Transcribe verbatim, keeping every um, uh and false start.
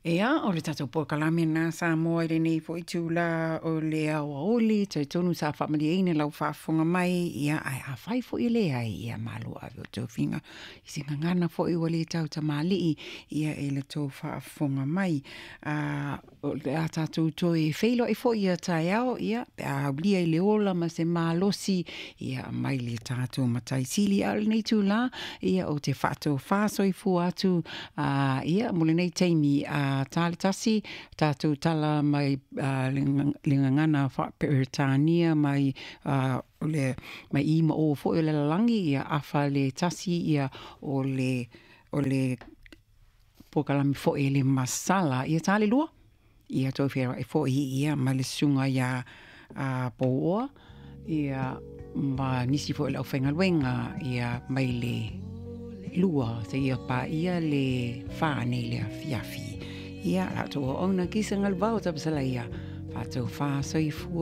Ia, o le tatou polokalame lena Samoa i lenei foi itulā o le aoauli, talitonu sa faamalieina lau faafofoga mai, ia, ae afai foi e leai, ia malo ave o tofiga i se gagana foi ua le tautamalii, ia, i le tou faafofoga mai. A, o le a tatou toe feiloai foi ia taeao, ia, pe a aulia i le ola ma se malosi, ia, mai le tatou Matai Sili. A o lenei itulā, ia, ou te faatofa soifua atu, a, ia, mo lenei taimi, a ta le tasi, tatou tala mai a, le, le gagana faa-Peretania mai a, o le mai i ma o foi o le lalolagi, ia afa le tasi, ia, o le o le polokalame foi le masala, ia ta le lua, ia toe feiloai foi ia ma le susuga ia a Pouoa, ia ma nisi foi o le aufaigaluega, ia mai le lua seia paia le fa nei le afiafi. Ia, la outou auauna kisa galuvao tapasalaia, faatofā soifua.